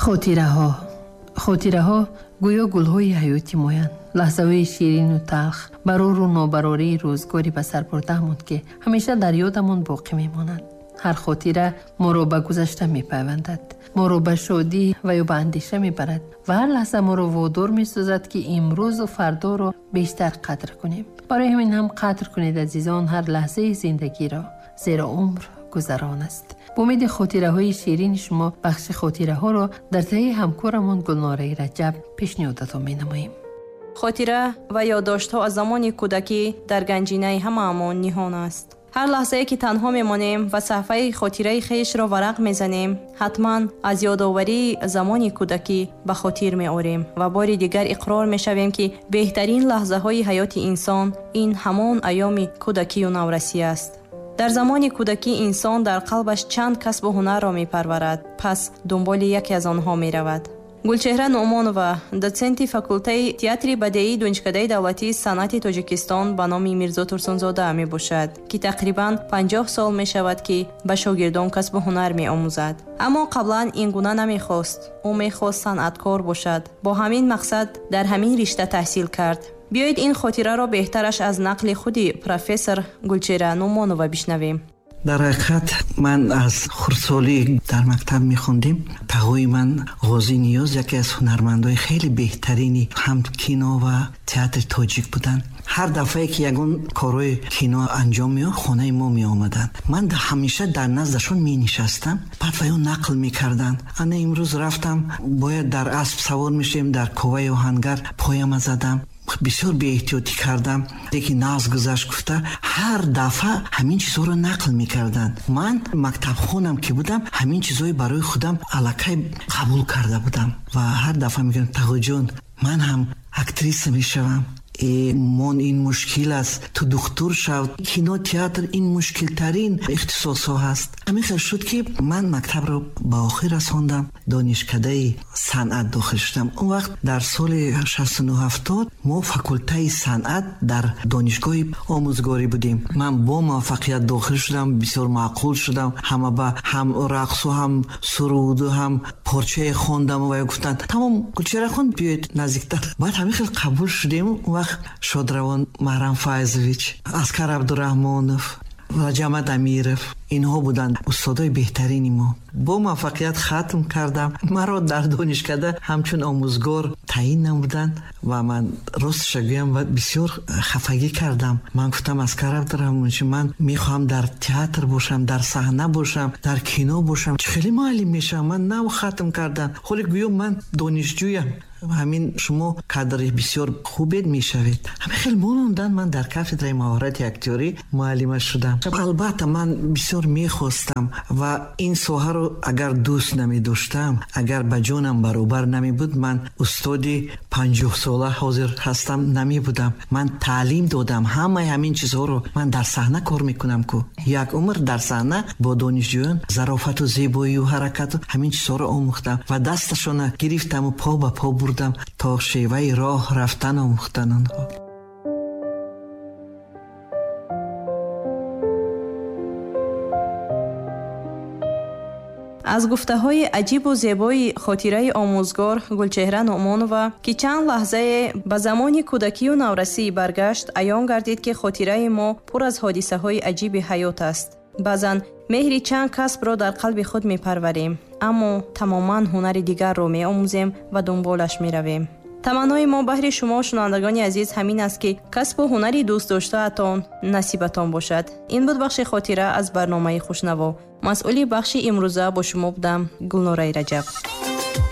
Хотираҳо. Хотираҳо гӯё гулҳои ҳаёти моянд. Лаҳзаҳои ширину талх, барору нобарории рӯзгори ба сар бурдаамон, ки ҳамеша дар ёдамон боқӣ мемонанд. Ҳар хотира моро ба гузашта мепайвандад, моро ба шодӣ ва ё ба андеша мебарад ва ҳар лаҳза моро водор месозад, ки имрӯзу фардоро бештар қадр кунем. Барои ҳамин ҳам қадр кунед, азизон, ҳар лаҳзаи зиндагиро, зеро умр гузарон аст. Бо умеди хотираҳои ширини шумо бахши хотираҳоро дар таҳи ҳамкорамон Гулнораи Раҷаб пешниҳодатон менамоем. Хотира ва ёддоштҳо аз замони кӯдакӣ дар ганҷинаи ҳамаамон ниҳон аст. Ҳар лаҳзае ки танҳо мемонем ва саҳфаи хотираи хешро варақ мезанем, ҳатман аз ёдоварии замони кӯдакӣ ба хотир меорем ва бори дигар иқрор мешавем, ки беҳтарин лаҳзаҳои ҳаёти инсон ин ҳамон айёми кӯдакию наврасӣ аст. Дар замони кӯдакӣ инсон дар қалбаш чанд касбу ҳунарро мепарварад, пас дунболи яке аз онҳо меравад. Гулчеҳра Нуъмонова, дотсенти факултаи театри бадеии Донишкадаи давлатии санъати Тоҷикистон ба номи Мирзо Турсунзода мебошад, ки тақрибан 50 сол мешавад, ки ба шогирдон касбу ҳунар меомӯзад. Аммо қаблан ин гуна намехост. Ӯ мехост санъаткор бошад. Бо ҳамин мақсад дар ҳамин ришта таҳсил кард. Биёед ин хотираро беҳтараш аз нақли худи профессор Гулчеҳра Нуъмонова бишнавем. Дар ҳақиқат ман аз хурдсолӣ дар мактаб мехондем. Тағои ман Ғозӣ Ниёз яке аз ҳунармандои хеле беҳтарини ҳам кино ва театри тоҷик буданд. Ҳар дафъае ки ягон корҳои кино анҷом меёфт, хонаи мо меомаданд. Ман ҳамеша дар наздашон менишастам, баъд ва ё нақл мекарданд. Ана имрӯз рафтам, бояд дар асп савор мешудем, дар коваи оҳангар пояма задам, бисёр беэҳтиётӣ кардам, лекин нағз гузашт гуфта ҳар дафъа ҳамин чизҳоро нақл мекарданд. Ман мактабхонам ки будам, ҳамин чизҳои барои худам аллакай қабул карда будам ва ҳар дафъа мегӯям: тағоҷон, ман ҳам актриса мешавам. Мон ин мушкил аст, ту духтур шав, кино, театр ин мушкилтарин ихтисосҳо ҳаст. Ҳамин хел шуд, ки ман мактабро ба охир расондам, донишкадаи санъат дохил шудам. Он вақт дар соли 69-70 мо факултаи санъат дар донишгоҳи омӯзгорӣ будем. Ман бо муваффақият дохил шудам, бисёр маъқул шудам. Ҳама ба ҳам рақсу, ҳам суруду, ҳам порчае хондам ва гуфтанд: тамом, Гулчеҳра хон, биёед наздиктар. Баъд ҳамин хел қабул шудем. Он вақт шодравон Маҳрам Файзович, Аскар Абдураҳмонов, Раҷамад Амиров, инҳо буданд устодои беҳтарини мо. Бо муваффақият хатм кардам. Маро дар донишкада ҳамчун омӯзгор таъин намуданд ва ман ростша гӯям бисёр хафагӣ кардам. Ман гуфтам: Аскар Абдураҳмонович, ман мехоҳам дар театр бошам, дар саҳна бошам, дар кино бошам. Чӣ хеле муаллим мешавам? Ман нав хатм кардам, ҳоле гӯё ман донишҷӯям. Ҳамин шумо кадри бисёр хубед мешавед. Ҳамин хел монондан, ман дар кафедраи маҳорати актёрӣ муаллима шудам. Албатта ман бисёр мехостам ва ин соҳаро агар дӯст намедоштам, агар ба ҷонам баробар намебуд, ман устоди 50сола ҳозир ҳастам намебудам. Ман таълим додам ҳамаи ҳамин чизҳоро. Ман дар саҳна кор мекунам ку, як умр дар саҳна бо донишҷӯён зарофату зебоию ҳаракату ҳамин чизҳоро омӯхтам ва дасташона гирифтаму по ба по бурдам то шеваи роҳ рафтан омӯхтан онҳо. Аз гуфтаҳои аҷибу зебои хотираи омӯзгор Гулчеҳра Нуъмонова, ки чанд лаҳзае ба замони кӯдакию наврасӣ баргашт, аён гардид, ки хотираи мо пур аз ҳодисаҳои аҷиби ҳаёт аст. Баъзан меҳри чанд касбро дар қалби худ мепарварем, аммо тамоман ҳунари дигарро меомӯзем ва дунболаш меравем. Таманнои мо баҳри шумо, шунавандагони азиз, ҳамин аст, ки касбу ҳунари дӯстдоштаатон насибатон бошад. Ин буд бахши хотира аз барномаи Хушнаво. Масъули бахши имрӯза бо шумо будам Гулнораи Раҷаб.